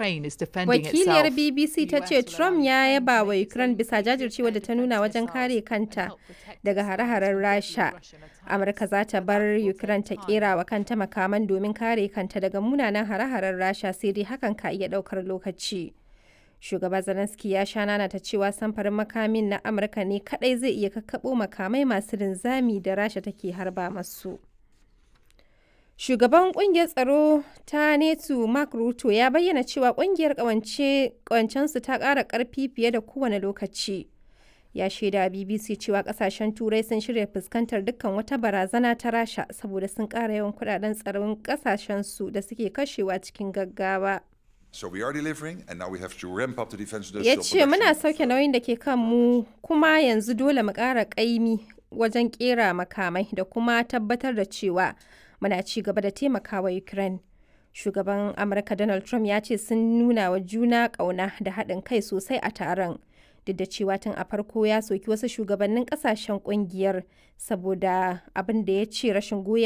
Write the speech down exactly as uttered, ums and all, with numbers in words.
Ukraine is defending Wakiliyar itself. B B C ta ce Trump ya yaba wa Ukraine bisa jajircewa da ta nuna wajen kare kanta daga hare-haren Rasha. Amurka za ta bar Ukraine ta kera wa kanta makaman domin kare kanta daga munanan hare-haren Rasha, sai dai hakan ka iya daukar lokaci. Shugaba Zelensky ya sha nanata cewa samfarin makamin na Amurka ne kadai zai iya kakkaɓo makamai masu linzami da Rasha take harba masu. Shugaban kungiyar tsaro ta NATO Mark Rutte ya bayyana cewa kungiyar kawancensu ta ƙara ƙarfi fiye da kowane lokaci. Ya shaida B B C cewa kasashen Turai sun shirya fuskantar dukkan wata barazana ta Rasha saboda sun ƙara yawan kudaden tsaron kasashensu da suke kashewa cikin gaggawa. So we are delivering and now we have to ramp up the defense Ya industrial ce muna production. sauke nauyin da ke kanmu kuma yanzu dole mu ƙara ƙaimi wajen ƙera makamai da kuma tabbatar da cewa muna ci gaba da taimakawa Ukraine. Shugaban Amurka Donald Trump ya ce sun nuna wa juna ƙauna da haɗin kai sosai a taron. Duk da cewa tun a farko ya soki wasu shugabannin ƙasashen ƙungiyar saboda abin da ya ce rashin goyon